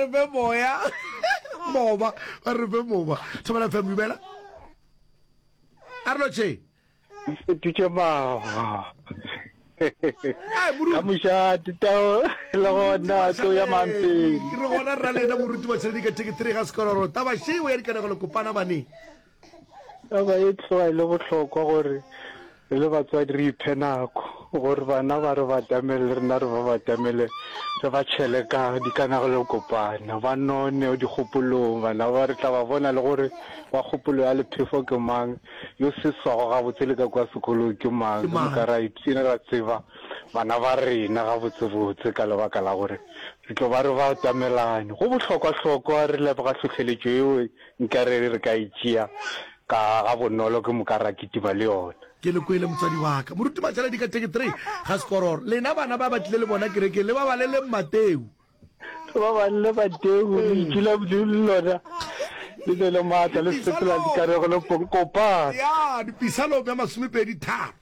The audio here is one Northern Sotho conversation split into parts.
re fe moya moba ba re fe moba thobela fm dumela a re lotšhe Dutše maga. Ka mošate tao le gona tlo ya mampeng. Re gona rra lena moruti wa tšheledi ka theke 3 ga sekororo. Taba šeo ya dikanegelo kopana baneng. Taba e tloga e le bohlokwa gore re le batswadi re iphe nako gore bana ba re batamele le rena re ba batamele re ba tšhele ka dikanegelo kopana ba none dikgopolong bana ba re tla ba bona le gore wa kgopolo ya lephefo ke mang Yo seswago gabotse le ka kua sekolong ke mang? Ke Ke moka mang? ra ipshina ra tseba bana ba rena gabotsebotse ka lebaka la gore re tlo ba re ba atamelane. Go bohlokwahlokwa re leboga hlohleletšo yeo nkare re ka e tšea ka gabonolo ke moka ra kitima le yona. Ke le kwele motswadi wa ka. Moruti Matšhaledi ka 33 ga Sekororo. Lena bana ba ba tlile le bona kerekeng le ba baleleng Mateu. Ba balele Mateu, lentšu la Modimo le lona le ne le maatla le sepela dikanegelo kopana. Ya, dipisalome ya masomepedi tharo.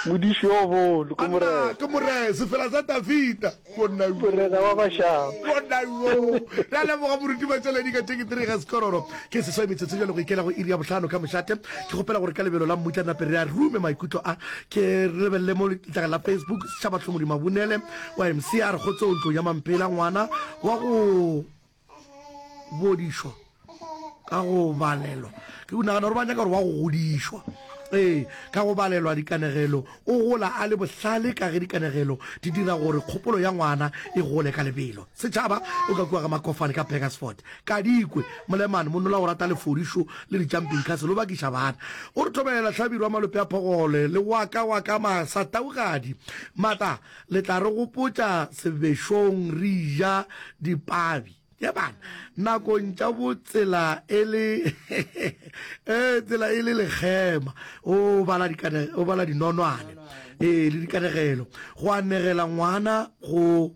Modiši yo bolo ke Morena. Ke Morena, sefela sa Dafida. Morena wa mašaba. Monna yo. Re a leboga moruti Matšaledi ka 33 ga Sekororo. Ke seswai metsotso jalo go ikela go iri ya bohlano ka mošate. Ke kgopela gore ka lebelo la mmutla nape re a rume maikutlo a. Ke re lebelele mo letlakala la Facebook Setšhaba Hlomodi Mabunele wa MC a re kgotsong ntlong ya Mampela ngwana wa go bodišwa ka go balelwa ke nagana gore ba nyaka gore wa go godišwa ee ka go balelwa dikanegelo o gola a le bohlale ka ge dikanegelo di dira gore kgopolo ya ngwana e gole ka lebelo setšhaba o ka kua ga makofane ka Burgersfort kadikwe molemane monola o rata lefodišo le di-jumping castle o bakiša bana o re thobela hlabirwa malope a phogole le waka waka masa taugadi mata Le tla re gopotša sebešong re ja dipabi. Ye bana, nakong tša bo tsela e le ee tsela e le lekgema. O bala dikane o bala dinonwane ee le dikanegelo go anegela ngwana go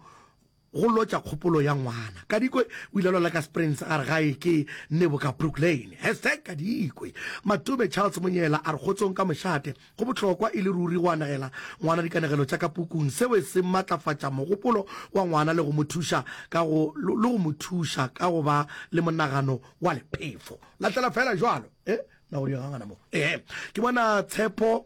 go lotša kgopolo ya ngwana. Kadikwe o ile a lwala ka Springs a re gae ke Nebo ka Brooklyn. Hashtag Kadikwe. Matome Charles Monyela a re kgotsong ka mošate. Go bohlokwa e le ruri go anegela ngwana dikanegelo tša ka pukung. Seo se matlafatša mogopolo wa ngwana le go mo thuša ka go le go mo thuša ka go ba le monagano wa lephefo. Lahlela feela jwalo. Eh, na go diegangana mo. Eh, ke bona Tshepo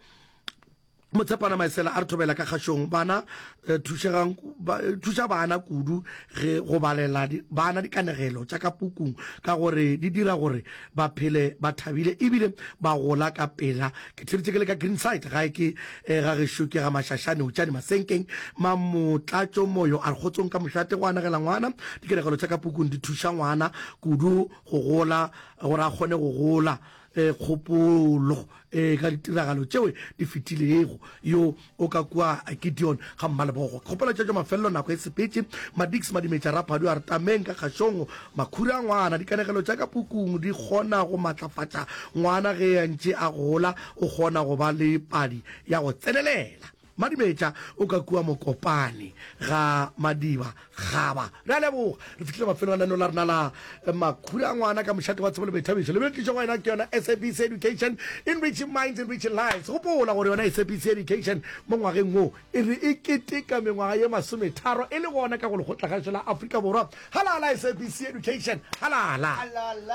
Motshepana Maesela a re thobela ka kgašong. Bana eh, thušegang ba, eh, thuša bana kudu ge go balela di, bana dikanegelo tša ka pukung ka gore di dira gore ba phele ba thabile ebile ba gola ka pela. Ke theeditše ke le ka Greenside, gae ke eh, ga gešo ke ga Mašašane, Utšane Masenkeng, Mamotlatšo Moyo a re kgotsong ka mošate go anegela ngwana dikanegelo tša ka pukung di thuša ngwana kudu go gola gore a kgone go gola eh, kgopolo eh, ka ditiragalo tšeo di fetilego. Yo o ka kua Gideon ga Mmalebogo. Ke kgopela tšatšo mafelelo nako e sepetše. Madix Madimetša Raphadu a re tameng ka kgašong makhura a ngwana. Dikanegelo tša ka pukung di kgona go matlafatša ngwana ge a ntše a gola, o kgona go ba le padi ya go tsenelela. Madimetša o ka kua Mokopane ga Madiba Gaba. Re a leboga. Re fihlile mafelong a lenaneo la rena la Makhura a Ngwana ka mošate wa tsebo le boithabišo. Le tlišwa go wena ke yona SABC Education, enriching minds, enriching lives. Gopola gore yona SABC Education mo ngwageng wo e re e keteka mengwaga ye masometharo e le gona ka go Lekgotlakgašo la Afrika Borwa. Halala SABC Education, halala.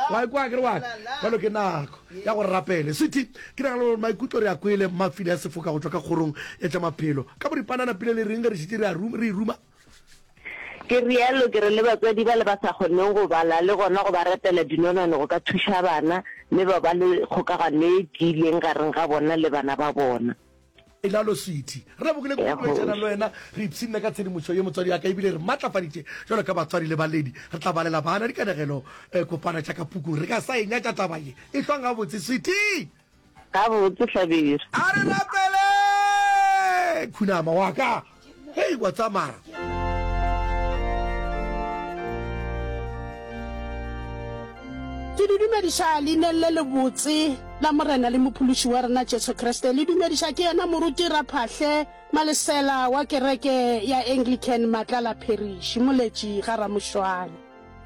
Wa ikwa ke re wa ka? Bjalo ke nako ya gore rapele. Sweetie, ke nagana gore maikutlo re a kwele Mafile a Sefoka go tšwa ka kgorong ya tša maphelo. Ka boripana napile le reng ge re šetše re a re e ruma? Ke realo ke re le batswadi bale ba sa kgoneng go bala le gona go ba retela dinonwane go ka thuša bana mme ba ba le kgokagano e tiileng gareng ga bona le bana ba bona. Elalo Sweety. Re lebogile kudu Ya go boledišana le kgoši. wena. Re ipshinne ka tshedimošo ye motswadi wa ka ebile re matlafaditše jwalo ka batswadi le baledi. Re tla balela bana dikanegelo eh, kopana tša ka pukung. Re ka sa e nyatša taba ye. Ehlwang gabotse Sweety! Gabotse Hlabirwa. A re rapele! Khunama wa ka. Hei, wa tsamaya. Ke le dumediša leineng le lebotse la Morena le Mophološi wa rena Jesu Kriste. Le dumediša ke yena Moruti Raphahle Malesela wa kereke ya Anglican Matlala Parish, Moletši ga Ramošwane.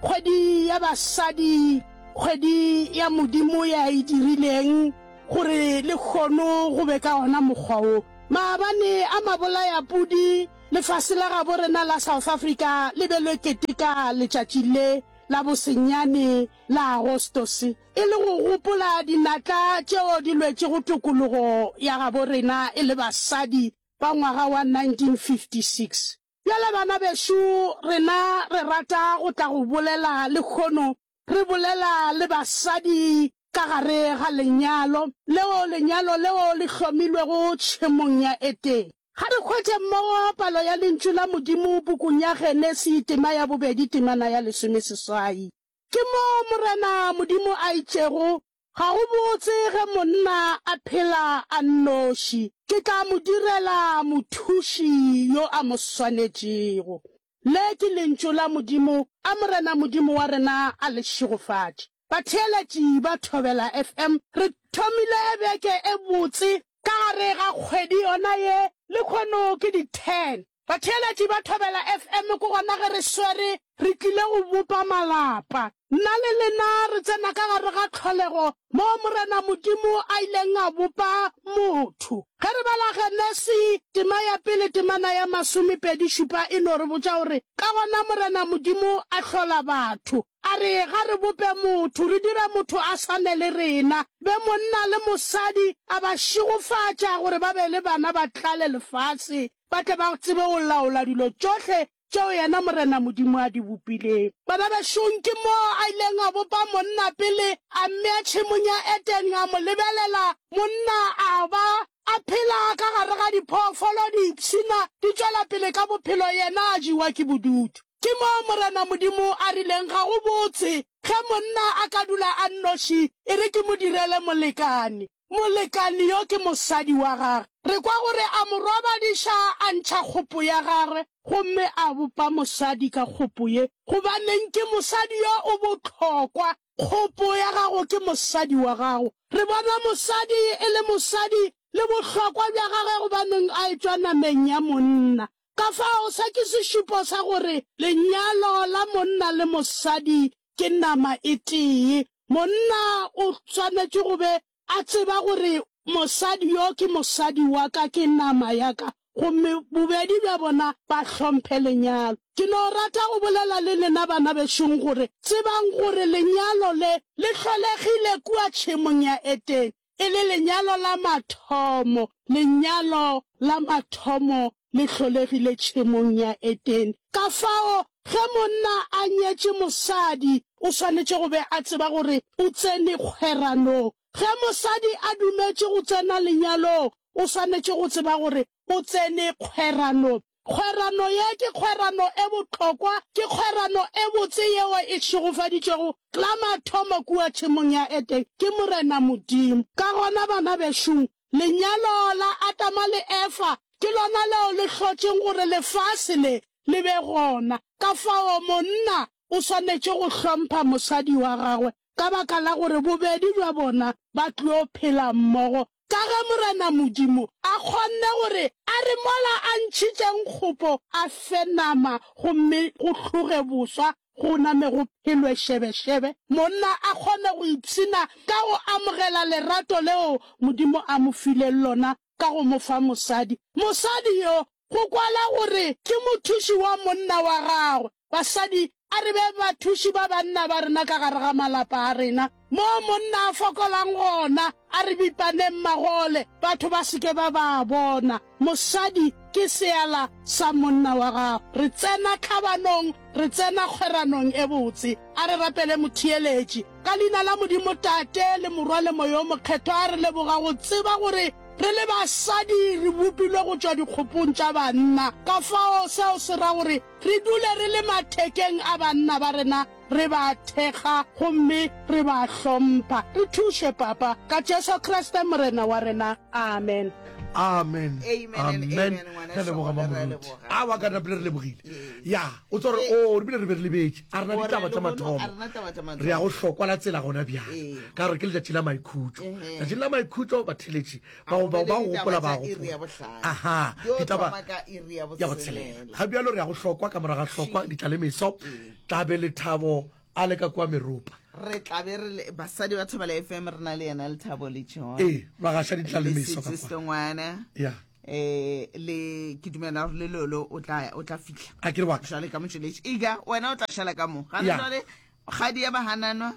Kgwedi ya basadi, kgwedi ya Modimo ya e dirileng gore lehono go be ka ona mokgwa wo. Maabane a mabolayapudi. Lefase la gabo rena la South Africa le be le keteka letšatši le la bosenyane la Agostose e le go gopola dinatla tšeo di lwetšego tokologo ya gabo rena e le basadi ba ngwaga wa 1956. Bjale bana bešo, rena re rata go tla go bolela lehono, re bolela le basadi ka gare ga lenyalo, leo lenyalo leo le hlomilwego tšhemong ya Edene. Ga re hwetše mmogo palo ya Lentšu la Modimo pukung ya Genesi tema ya bobedi temana ya lesomeseswai. Ke moo Morena Modimo a itšego, Ga go botse ge monna a phela a nnoši, ke tla mo direla mothuši yo a mo swanetšego. Le ke Lentšu la Modimo, a Morena Modimo wa rena a le šegofatše. Batheeletši ba Thobela FM, re thomile beke e botse ka gare ga kgwedi yona ye, lehono ke di 10. Batheeletši ba Thobela FM ke gona ge re swere re tlile go bopa malapa. Nna le lena re tsena ka gare ga tlholego moo Morena Modimo a ileng a bopa motho. Ge re bala Genesi tema ya pele temana ya masomepedišupa e no re botša gore ka gona Morena Modimo a hlola batho, A re, Ga re bope motho, re dire motho a swane le rena, be monna le mosadi, a ba šegofatša gore ba be le bana ba tlale lefase, ba tle ba tsebe go laola dilo tšohle tšeo yena Morena Modimo a di bopileng. Bana bešong, ke moo a ileng a bopa monna pele, a mmea tšhemong ya Edene, a mo lebelela, monna a ba a phela ka gare ga diphoofolo, di ipshina, di tšwela pele ka bophelo, yena a jewa ke bodutu. Ke moo Morena Modimo a rileng, Ga go botse ge monna a ka dula a nnoši, e re ke mo direle molekane. Molekane yo ke mosadi wa gagwe. Re kwa gore a mo robadiša, a ntšha kgopo ya gagwe, gomme a bopa mosadi ka kgopo ye. Gobaneng ke mosadi yo o bohlokwa? Kgopo ya gago ke mosadi wa gago. Re bona mosadi e le mosadi le bohlokwa bja gagwe gobaneng a etšwa nameng ya monna. Ka fao se ke sešupo sa gore lenyalo la monna le mosadi ke nama e tee. Monna o swanetše go be a tseba gore mosadi yo ke mosadi wa ka, ke nama ya ka, gomme bobedi bja bona ba hlomphe lenyalo. Ke no rata go bolela le lena bana bešong gore tsebang gore lenyalo le le hlolegile kua tšhemong ya Edene, e le lenyalo la mathomo, lenyalo la mathomo le hlolegile tšhemong ya Edene. Kafao, ge monna a nyetše mosadi, o swanetše go be a tseba gore o tsene kgweranong. Ge mosadi a dumetše go tsena lenyalong, o swanetše go tseba gore o tsene kgweranong. Kgwerano ye ke kgwerano e bohlokwa, ke kgwerano e botse yeo e šegofaditšwego la mathomo kua tšhemong ya Edene ke Morena Modimo. Ka gona, bana bešong, lenyalo la Adama le Efa ke lona leo le hlotšeng gore lefase le le be gona. Ka fao monna o swanetše go hlompha mosadi wa gagwe ka baka la gore bobedi bja bona ba tlo phela mmogo Ka ge Morena Modimo a kgonne gore a re mola a ntšhitšeng kgopo a fe nama gomme go hloge boswa go name go phelwe šebešebe, monna a kgone go ipshina ka go amogela lerato leo Modimo a mo fileng lona ka go mo fa mosadi. Mosadi yo go kwala gore ke mothuši wa monna wa gagwe. Basadi, a re be bathuši ba banna ba rena ka gare ga malapa a rena. Moo monna a fokolang gona, a re bipaneng magole, batho ba se ke ba ba bona. Mosadi ke seala sa monna wa gago. Re tsena tlhabanong, re tsena kgweranong e botse. A re rapele motheeletši. Ka leina la Modimo Tate, le Morwa le Moya o Mokgethwa, re leboga go tseba gore re le basadi re bopilwe go tšwa dikgopong tša banna. Ka fao seo se ra gore Re dule re le mathekeng a banna ba rena, re ba thekga gomme re ba hlompha. Re thuše, Papa, ka Jesu Kriste Morena wa rena. Amen. Amen. Amen and Amen. amen, ngwana Re a leboga Šogo, re a Mamoruti. leboga. A wa ka napile re lebogile. Ee. Ya, o tswa gore o re bile re be re lebetše. A rena Gore ditaba tša lehono mathomo. a rena taba tša mathomo. Re ya go hlokwa la tsela gona bjale. Ee. Ka gore ke letšatši la maikhutšo. Ehe. Letšatši la maikhutšo batheletši A bao go bao be ba le go ditaba gopola ba tša iri ya gopola. bohlano. Aha, Di yo ditaba thoma ka iri ya ya botshelela. botshelela. Ga bjalo re ya go hlokwa ka morago ga hlokwa ditlalemeso Ee. tla be Lethabo a le ka kua meropa. Re tla be re le basadi ba Thobela FM re na le yena Lethabo le John. Ee, ba gaša Le ditlalemeso ka Sisi kwa. Sengwana. Ya. Eh le ke dumela gore le lolo o tla o tla fihla. A ke re wa ka. Jwale ka motšweletši. Iga wena o tla šala ka mo. Gana Ya. jwale kgadi ya bahananwa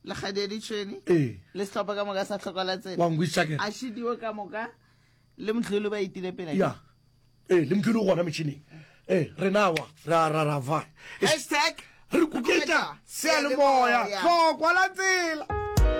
le kgadi ya ditšhwene Ee. le sehlopha ka moka sa hloka la tsela. Wa nkwešiša ke? A šidiwe ka moka le motlholo ba itile pele. Ya. Ee, le motlholo o gona metšhineng. Ee, rena wa ra ra ra va. Hashtag Re kuketša seyalemoya. Hlokwa la tsela.